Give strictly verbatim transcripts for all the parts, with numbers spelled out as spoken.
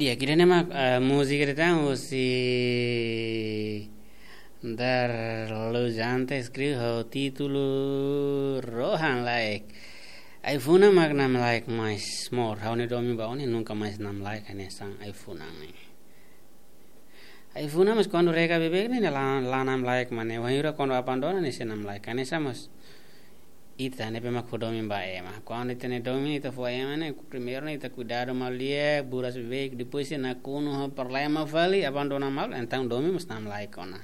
Di'ak, ida-ne'e mak, eh, múzika ida tan husi Darlu Jante, eskribe ho títulu Rohan Laek. Ai-funan mak namlaek mais mós. Ha'u-nia domin ba ó ne'e nunka mais namlaek hanesan ai-funan ne'e. Ai-funan mós kuandu rega beibeik ne'e la, la namlaek mak ne'e. Wainhira kuandu abandona ne'e sei namlaek. Hanesan mós ita ne'ebé mak fó domin ba ema. Kuandu ita-nia domin ita fó ema ne'e, primeiru ne'e ita kuidadu malu di'ak, buras beibeik, depois se nakonu ho problema fali, abandona malu, entaun domin mós namlaek ona.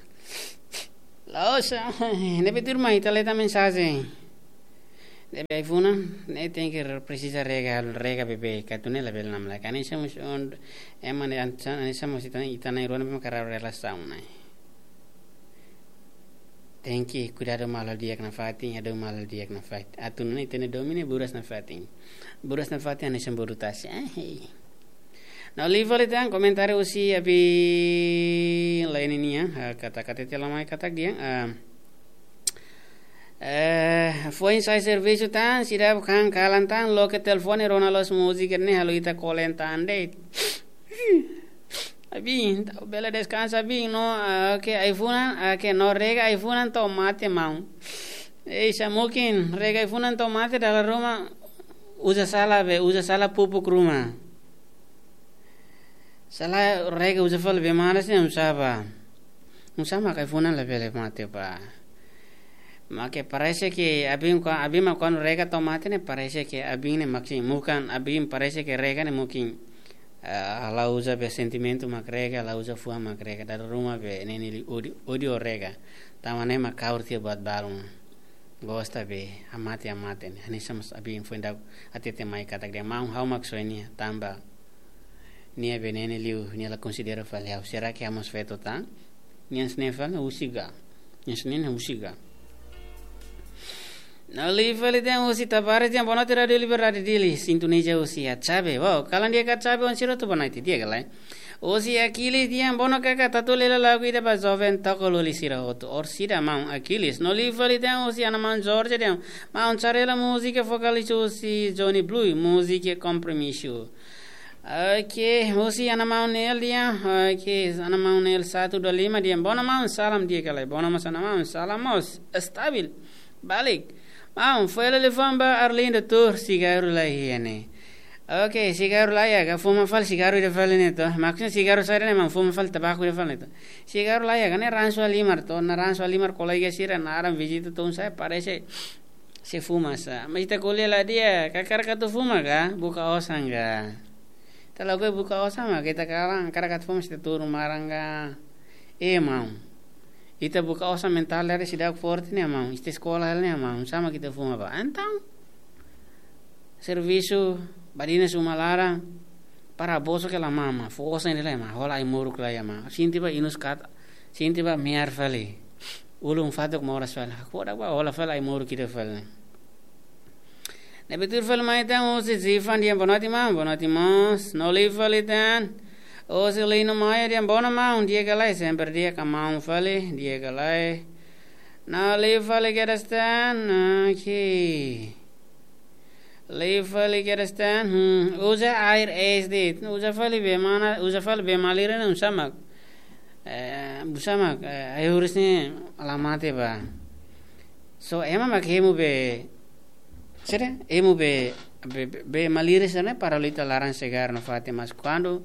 La'ós, ne'ebé tuirmai ita lee tan mensajen. Ne'ebé ai-funan ne'e tenke re-, presiza rega, rega beibeik, atu nune'e labele namlaek. Hanesan mós on, ema ne'e an-, hanesan mós ita, ita na'in-rua ne'ebé mak halo relasaun ne'e. Tenke kuidadu malu di'ak nafatin, hadi'a malu di'ak nafatin. Atu nune'e ita-nia domin ne'e buras nafatin. Buras nafatin hanesan boru tasi. Ah, hei. Ha'u lee fali tan komentáriu husi Abi Laini nian, ah, katak hatete la mai katak dehan, ah, eh, foin sai servisu tan, seidauk han kalan tan, loke telefone rona loos múzika ne'e halo ita kolen tan de'it. Abi, entaun bele deskansa, Abi, no, ah, oke, ai-funan, ah, oke, no rega ai-funan to'o mate maun. Ei, sá mungkin, rega ai-funan to'o mate dala ruma, uza sala be, uza sala pupuk ruma. Sala rega uza fali be manas ne'e oinsá ba. Oinsá mak ai-funan labele mate ba. Maske parese ke Abi ko, Abi mak kuandu rega to'o mate ne'e parese ke Abi ne'e mak sin, bukan Abi parese ke rega ne'e mungkin, eh, la uza be sentimentu mak rega, la uza fuan mak rega, dala ruma be ne'e ne'e li-, ódiu, ódiu rega. Tanba ne'e mak kaur tiha buat balun. Gosta be, hamate, hamate ne'e. Hanesan mós Abi foin daudauk hatete mai katak dehan maun ha'u mak soe nia, tanba nia be ne'e ne'e liu, nia la konsidera fali ha'u. Será ke ha'u mós feto tan? Nia hanesan ne'e fali husik ka? Nia hanesan ne'e husik ka? Ha'u lee fali tan husi Tavares dehan boa noite Rádio Liberdade Dili, sintoniza husi Atsabe. Wow, kalan di'ak Atsabe, oan sira hotu boa noite, di'ak ka lae? Husi Aquiles dehan boa noite kaka, atu halo lagu ida ba joven tokol-loli sira hotu. Orsida maun Aquiles. No lee fali tan husi ana maun Jorge dehan maun, sá hela múzika vokál husi Johnny Blue, múzika Compromisso. Oke, husi ana maun Nel dehan, oke, ana maun Nel satu dua lima dehan, boa noite maun, salam di'ak ka lae? Boa noite mós ana maun, salam mós, estabil. Balik. Maun, fó hela liafuan ba Arlindo tuur, sigarru laiha ne'e. Oke, sigarru laiha ka, fuma fali sigarru ida fali ne'e to. Maksudnya sigarru saida ne'e maun, fuma fali tabaku ida fali ne'e to. Sigarru laiha ka, ne'e ransu halimar to, ne'e ransu halimar kolega sira naran vizita tun sai parese sei fuma sá. Mas ita ko'alia la di'ak, hakarak atu fuma ka, buka osan ka. Ita lakohi buka osan mak ita kalan, hakarak atu fuma sei ita turun maran ka. Eh, maun. Ita buka osan mentál dari seidauk forte ne'e maun. Ita eskola hela ne'e maun. Oinsá mak ita fuma ba. Entaun servisu, badinas uma laran, para boso ke la mama, fó osan ida lai mak, hola ai-moruk lai mak. Sente ba inus kat, sente ba mear fali. Ulun fatuk moras fali. Hakfodak ba hola fali ai-moruk ida fali. Ne'ebé tuur fali mai tan husi Zifan dehan boa noite maun, boa noite mós. No lee fali tan husi Lino Maia dehan boa noite maun, di'ak ka lae? Sempre di'ak ka maun fali, di'ak ka lae? No lee fali kedas tan, oke. Lee fali kedas tan, hmm, uza air es de'it, uza fali be mana, uza fali be malirin ne'e oinsá mak. Eh, oinsá mak, eh, ai-huris ne'e la mate ba. So, ema mak hemu be, saida? Hemu be, be, be, be malirin sira-ne'e para halo ita laran segar nafatin, mas kuandu,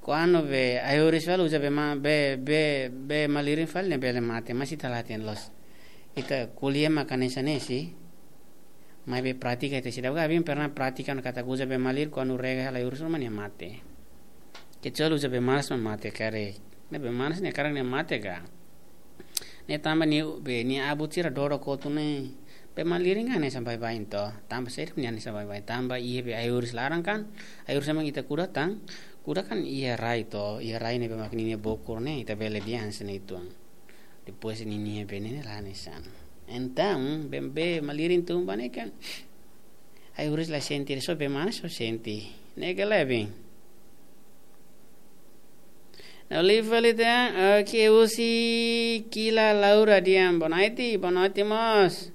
kuandu be ai-huris fali uza be ma-, be, be, be malirin fali ne'e bele mate, mas ita la hatene loos. Ita ko'alia mak hanesan ne'e, si. Maibé prátika ita seidauk, Abi pernah prátika ona katak uza be malirin kuandu rega hela ai-huris ruma nia mate. Kecuali uza be manas mak mate karik. Ne'e be manas ne'e hakarak nia mate ka. Ne'e tanba nia be nia abut sira dodok hotu ne'e. Be malirin ka hanesan baibain to. Tanba saida mak nia hanesan baibain. Tanba iha be ai-huris laran kan. Ai-huris mak ita kuda tan. Kuda kan iha rai to. Iha rai ne'ebé mak ninia bokur ne'e. Ita bele dehan hanesan ne'e uitoan. Depois ninia be ne'e ne'e la hanesan. Entaun, be, be malirin tun ba ne'e kan. Ai-huris la sente, só be manas só sente. Ne'e ka lae, Abi? No lee fali tan, oke, husi Kila Laura dehan boa noite, boa noite mós.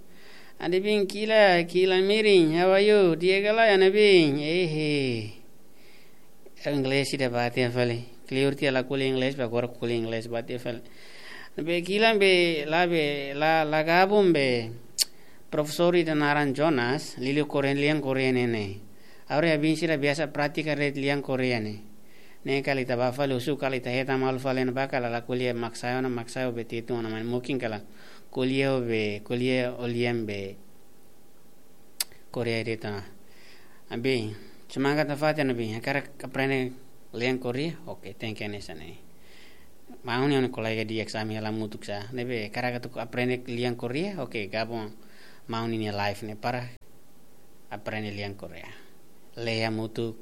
Ana Bin Kila, Kila Mirin, how are you? Di'ak ka lae, Ana Bin? Ehe. Inglés ida ba tiha fali. Kleur tiha la ko'alia inglés, ba agora ko'alia inglés ba tiha fali. Be kilan be la be la la gabun be profesór ida naran Jonas, liuliu Koreia, lian Koreia ne'e ne'e. Agora abin sira biasa pratika de'it lian Koreia ne'e. Ne'e kala ita ba fali husu kala ita hetan malu fali ne'e ba kala la ko'alia maksai ona maksai be Tetun ona, maibé mungkin kala ko'alia be ko'alia ho lian be Koreia de'it ona. Abin, semangat nafatin abin, hakarak aprende lian Koreia, oke, tenke hanesan ne'e. Maun ne'e kolega di'ak sira ami hela hamutuk sá, ne'ebé hakarak atu aprende lian Koreia, oke, gabung maun ninia live ne'e para aprende lian Koreia. Lee hamutuk,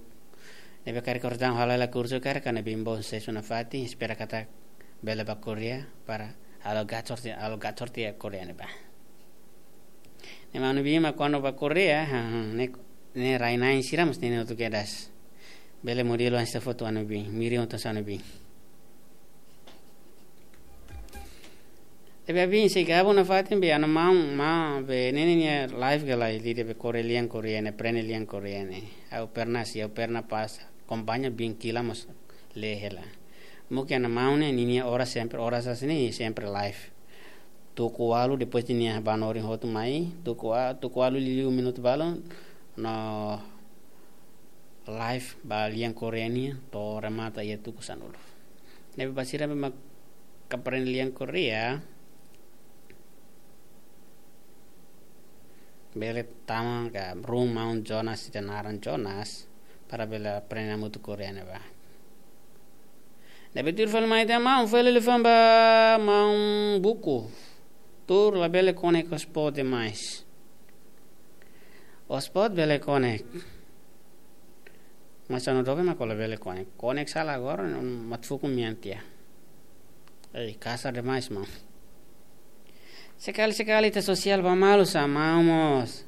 ne'ebé karik orsida halo hela kursu karik, hanesan abin bom susesu nafatin, espera katak bele ba Koreia, para halo gachorte, halo gachorte iha Koreia ne'ebá. Ne'e maun abin mak kuandu ba Koreia, ha, ha, ne'e, ne'e rai-na'in sira mós ne'e ne'e hotu kedas. Bele modelu hanesan foto maun abin, miri oto maun abin. Tapi abin sei gabung nafatin be ha'u-nia maun, maun be ne'e nia live ka lae, lee de'it be Koreia lian Koreia ne'e, aprende lian Koreia ne'e. Ha'u pernah sih, ha'u pernah pas akompaña abin kilan mós lee hela. Mungkin ha'u-nia maun ne'e ninia oras sempre, oras hanesan ne'e sempre live. Tuku ualu, depois de nia banorin hotu mai, tuku ua-, tuku ualu liu minutu balun, no live ba lian Koreia nian, to'o remata iha tuku sanulu. Ne'ebé ba sira be mak aprende lian Koreia, bele tama ka room maun Jonas, ida naran Jonas, para bele aprende hamutuk Koreia ne'ebá. Ne'ebé tuir fali mai tiha maun, fali liafuan ba maun buku. Tuur labele connect hotspot demais. Hotspot bele connect. Mas ha'u-nia doben mak labele connect. Connect sala agora, mak fuku mian tiha. Ei, kasar demais, maun. Sekali-sekali ita sosiál ba malu sá, maun mós.